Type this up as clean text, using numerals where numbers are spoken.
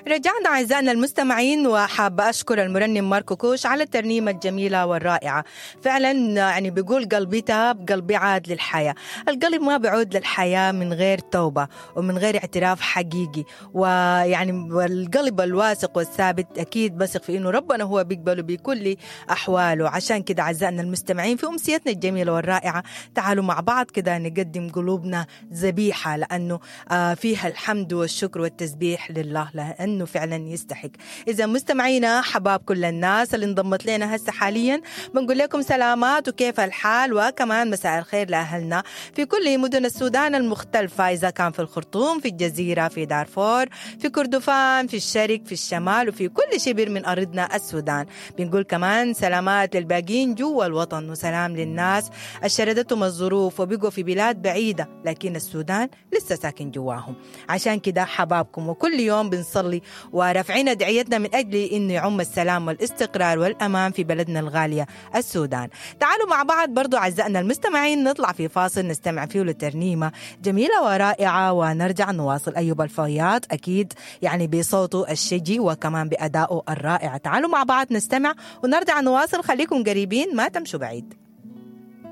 رجعنا أعزائنا المستمعين، وحابة أشكر المرنم ماركو كوش على الترنيمة الجميلة والرائعة. فعلا يعني بيقول قلبي تاب، قلبي عاد للحياة. القلب ما بيعود للحياة من غير توبة ومن غير اعتراف حقيقي، ويعني القلب الواثق والثابت أكيد بثق في إنه ربنا هو بيقبله بكل أحواله. عشان كده أعزائنا المستمعين في أمسيتنا الجميلة والرائعة تعالوا مع بعض كده نقدم قلوبنا ذبيحة، لأنه فيها الحمد والشكر والتسبيح لله، لأنه فعلا يستحق. إذا مستمعينا حباب كل الناس اللي انضمت لنا هسه حاليا بنقول لكم سلامات وكيف الحال، وكمان مساء الخير لأهلنا في كل مدن السودان المختلفة، إذا كان في الخرطوم، في الجزيرة، في دارفور، في كردفان، في الشرق، في الشمال، وفي كل شبر من أرضنا السودان. بنقول كمان سلامات للباقين جوا الوطن، وسلام للناس الشردتهم الظروف وبقوا في بلاد بعيدة لكن السودان لسه ساكن جواهم. عشان كده حبابكم، وكل يوم بنصلي ورافعين دعيتنا من أجل إنه يعم السلام والاستقرار والأمان في بلدنا الغالية السودان. تعالوا مع بعض برضو أعزائنا المستمعين نطلع في فاصل نستمع فيه لترنيمة جميلة ورائعة ونرجع نواصل. أيوب الفياض أكيد يعني بصوته الشجي وكمان بأدائه الرائع. تعالوا مع بعض نستمع ونرجع نواصل، خليكم قريبين ما تمشوا بعيد.